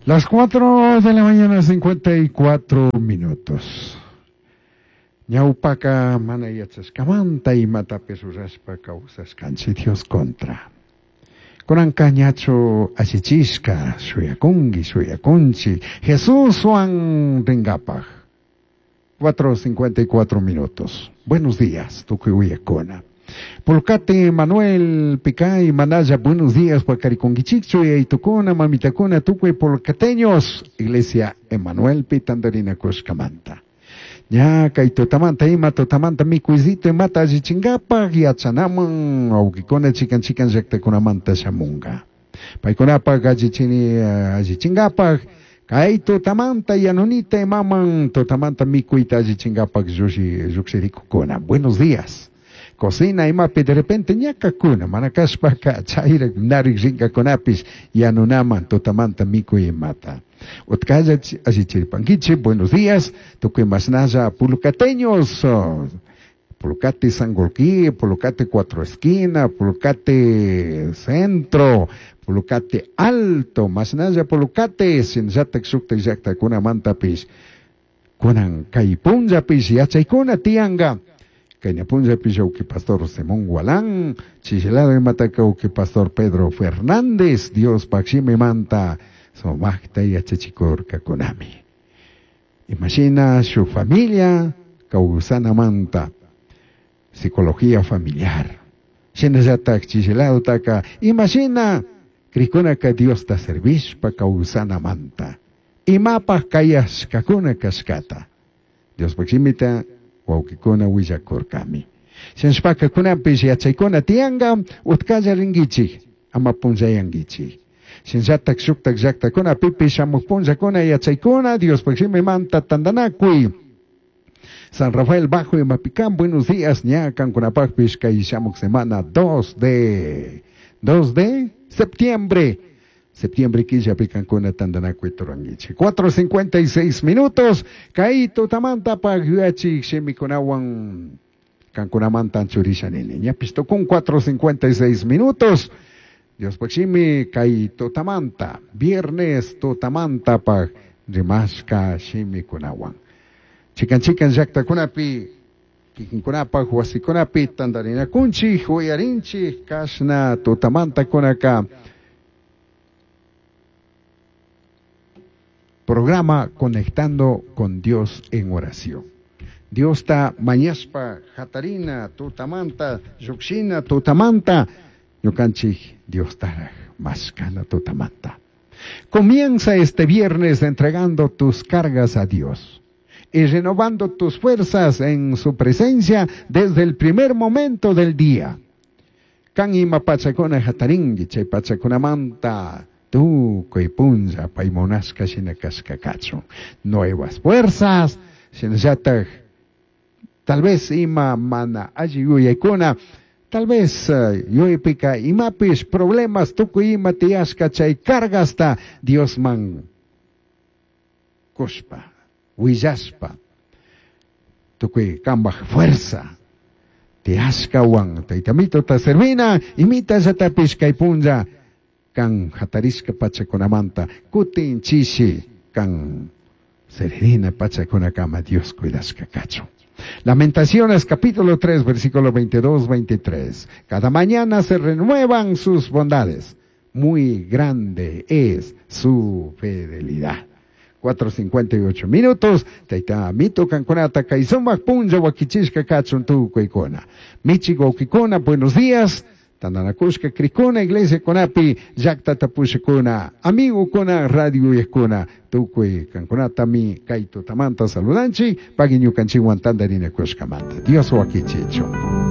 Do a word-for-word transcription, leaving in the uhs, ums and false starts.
Las cuatro de la mañana, cincuenta y cuatro minutos. Ñawpaka mana yachashkamanta imatapish rurashpa kawsashkanchik Dios contra. Kunanka ñachu allichishka shuyakunki, shuyakunchik Jesuswan ringapaj. cuatro cincuenta y cuatro minutos. Buenos días, tukuy uyakuna. Pulcate Manuel Picay Manaya, buenos días, Pacariconguichichu, Yaitukuna, Mamitakuna, tukuy pulcateños, Iglesia Emanuel Pitandarina Kushkamanta. Ña kay tutamanta ima tutamanta mikuysito imata allichingapaj yachanaman wawkikuna chikan chikan llaktakunamanta shamunga. Paykunapaj allichini allichingapaj kay tutamanta yanunita imaman tutamanta mikuyta allichingapaj llukshirikukuna. Buenos días. Cocina imapi de repente ñakakuna, mana kashpaka chayrak narik rinkakunapish yanunaman tutamanta mikuy imata. Utkalla allichirpankichik, buenos días, tukuy mashnalla pulucateños, Pulucate Sangolquí, Pulucate Cuatro Esquina, Pulucate Centro, Pulucate Alto, mashnalla Pulucate, shinallatak shuktak llaktakunamantapish, kunan kay punllapish yachaykuna tiyanka. Kayna punllapish uki pastor Simón Gualán, chishilado imataka uki pastor Pedro Fernández, Dios manta sumaqta yachachikurkakunami. Imagina su familia kawsanamanta, psicología familiar. Shinallatak chishilado taka, imagina krikunaka Diosta servishpa kawsanamanta. Imapaj kayashkakuna kashkata. Diospaj shimita wawkikuna willakurkami. Shinashpaka kunanpish yachaykuna tiyanka utkalla rinkichik, ama punllayankichik. Shinallatak shuktak llaktakunapipish shamuj punllakuna yachaykuna Diospaj shimimanta tantanakuy. San Rafael Bajo y Mapicán, buenos días, ña kankunapajpish kay shamuj semana dos de dos de septiembre. Septiembre killapi kankuna tantanakuy rurankichik. cuatro cincuenta y seis minutos. Kay tutamanta paj yuyachik shimikunawan kankunamanta anchurisha nini. Ñapish tukun cuatro cincuenta y seis minutos. Diospaj shimi kay tutamanta, viernes tutamanta paj rimashka shimikunawan. Chikan chikan llaktakunapi kikinkunapaj wasikunapi tantarinakunchik, uyarinchik kashna tutamanta kunaka programa Conectando con Dios en Oración. Diosta mañashpa hatarina tutamanta llukshina tutamanta ñukanchik Diostaraj mashkana tutamanta. Comienza este viernes entregando tus cargas a Dios y renovando tus fuerzas en su presencia desde el primer momento del día. Kan ima pachakuna hatarinki chay pachakunamanta tukuy punlla pay munashka shina kashka kachun. Nuevas fuerzas, shinallatak tal vez ima mana alli yuyaykuna, tal vez uh, yuyaypika imapish problemas tukuy ima tiyashka chay cargasta Diosman kushpa, willashpa, tukuy kambaj fuerza tiyashkawan Tayta Amitota servina imitallatapish kay punlla kan hatarishka pachakunamanta kutin chishi kan serenina pachakunakama Dios cuidashka kachun. Lamentaciones capítulo tres, versículo veintidós, veintitrés. Cada mañana se renuevan sus bondades. Muy grande es su fidelidad. cuatro cincuenta y ocho minutos. Tayta Amito kankunata kay sumak punlla wakichishka kachun tukuykuna. Michi wawkikuna, buenos días. Tandanakushka krikuna, iglesia kunapi, llaktata pushakuna, amigokuna, radio uyakuna, tukuy kankunatami kay tutamanta saludanchik, pagui ñukanchikwan tantarinakushkamanta. Dios wakichichun.